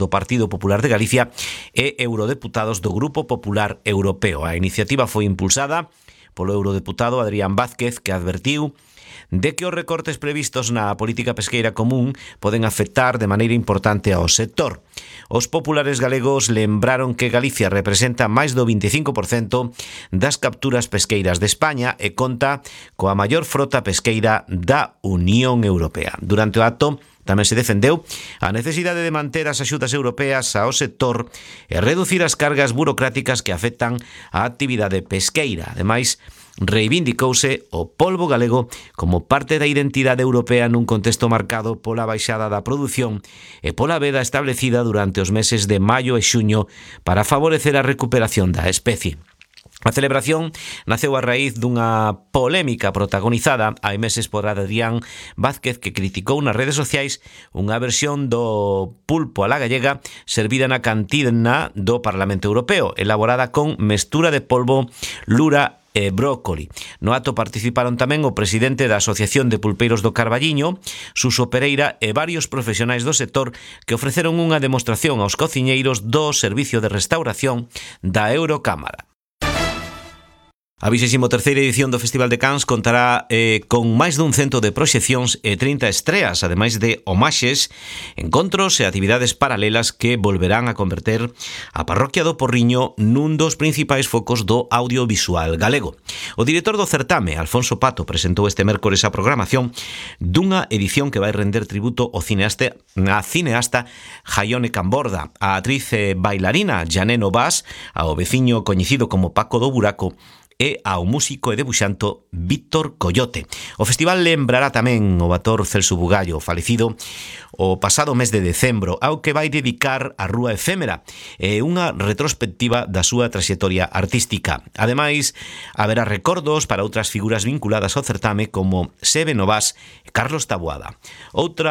do Partido Popular de Galicia e eurodeputados do Grupo Popular Europeo. A iniciativa foi impulsada polo eurodeputado Adrián Vázquez, que advertiu de que os recortes previstos na política pesqueira común poden afectar de maneira importante ao sector. Os populares galegos lembraron que Galicia representa máis do 25% das capturas pesqueiras de España e conta coa maior frota pesqueira da Unión Europea. Durante o acto tamén se defendeu a necesidade de manter as axudas europeas ao sector e reducir as cargas burocráticas que afectan a actividade pesqueira. Ademais, reivindicouse o polbo galego como parte da identidade europea nun contexto marcado pola baixada da produción e pola veda establecida durante os meses de maio e xuño para favorecer a recuperación da especie. A celebración naceu a raíz dunha polémica protagonizada hai meses por Adrián Vázquez, que criticou nas redes sociais unha versión do pulpo a la gallega servida na cantina do Parlamento Europeo, elaborada con mestura de polvo, lura e brócoli. No acto participaron tamén o presidente da Asociación de Pulpeiros do Carballiño, Suso Pereira, e varios profesionais do sector que ofreceron unha demostración aos cociñeiros do Servicio de Restauración da Eurocámara. A 23ª edición do Festival de Cans contará con máis dun cento de proxeccións e 30 estreas, ademais de homaxes, encontros e actividades paralelas que volverán a converter a parroquia do Porriño nun dos principais focos do audiovisual galego. O director do certame, Alfonso Pato, presentou este mércores a programación dunha edición que vai render tributo ao cineasta Jaione Camborda, a actriz e bailarina Janeno Vaz, ao veciño coñecido como Paco do Buraco e ao músico e debuxanto Víctor Coyote. O festival lembrará tamén o actor Celso Bugallo, falecido o pasado mes de decembro, ao que vai dedicar a Rúa Efémera e unha retrospectiva da súa traxectoria artística. Ademais, haberá recordos para outras figuras vinculadas ao certame como Sebe Novás e Carlos Taboada. Outro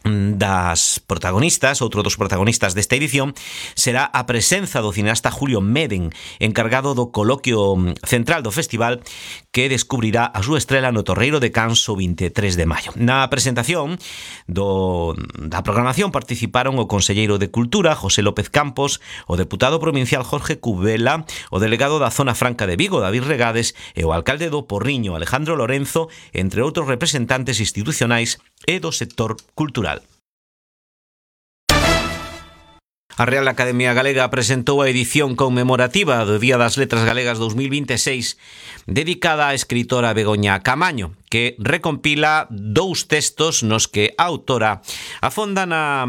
dos protagonistas desta edición será a presenza do cineasta Julio Meden, encargado do coloquio central do festival, que descubrirá a súa estrela no Torreiro de Cans o 23 de maio. Na presentación da programación participaron o conselleiro de Cultura, José López Campos, o deputado provincial Jorge Cubela, o delegado da Zona Franca de Vigo, David Regades, e o alcalde do Porriño, Alejandro Lorenzo, entre outros representantes institucionais e do sector cultural. A Real Academia Galega presentou a edición conmemorativa do Día das Letras Galegas 2026 dedicada á escritora Begoña Camaño, que recompila dous textos nos que a autora afonda na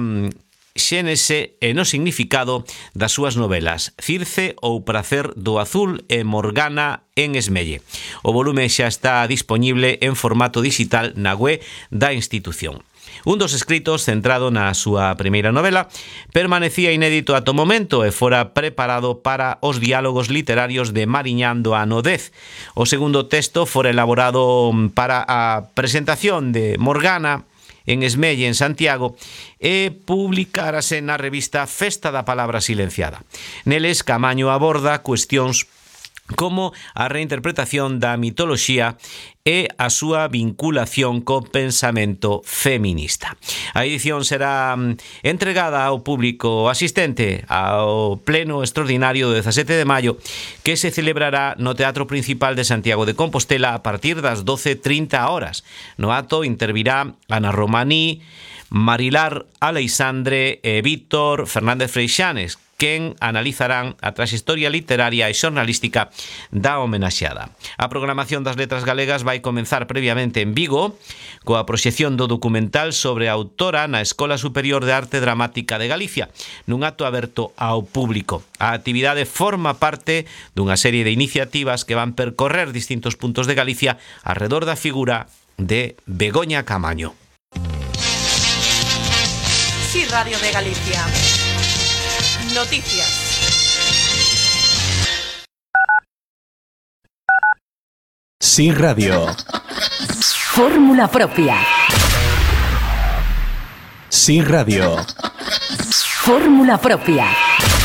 xénese e no significado das súas novelas Circe ou Pracer do Azul e Morgana en Esmelle. O volume xa está dispoñible en formato digital na web da institución. Un dos escritos, centrado na súa primeira novela, permanecía inédito ata o momento e fora preparado para os diálogos literarios de Mariñán do ano 10. O segundo texto fora elaborado para a presentación de Morgana en Esmelle, en Santiago, e publicárase na revista Festa da Palabra Silenciada. Neles, Camaño aborda cuestións como a reinterpretación da mitoloxía e a súa vinculación co pensamento feminista. A edición será entregada ao público asistente ao pleno extraordinario do 17 de maio, que se celebrará no Teatro Principal de Santiago de Compostela a partir das 12:30 horas. No acto intervirá Ana Romaní, Marilar Aleixandre e Víctor Fernández Freixanes, quen analizarán a traxectoria literaria e xornalística da homenaxeada. A programación das letras galegas vai comenzar previamente en Vigo, coa proxección do documental sobre a autora na Escola Superior de Arte Dramática de Galicia, nun acto aberto ao público. A actividade forma parte dunha serie de iniciativas que van percorrer distintos puntos de Galicia arredor da figura de Begoña Camaño. Sí, Radio de Galicia. Noticias. Sí Radio. Fórmula propia. Sí Radio. Fórmula propia.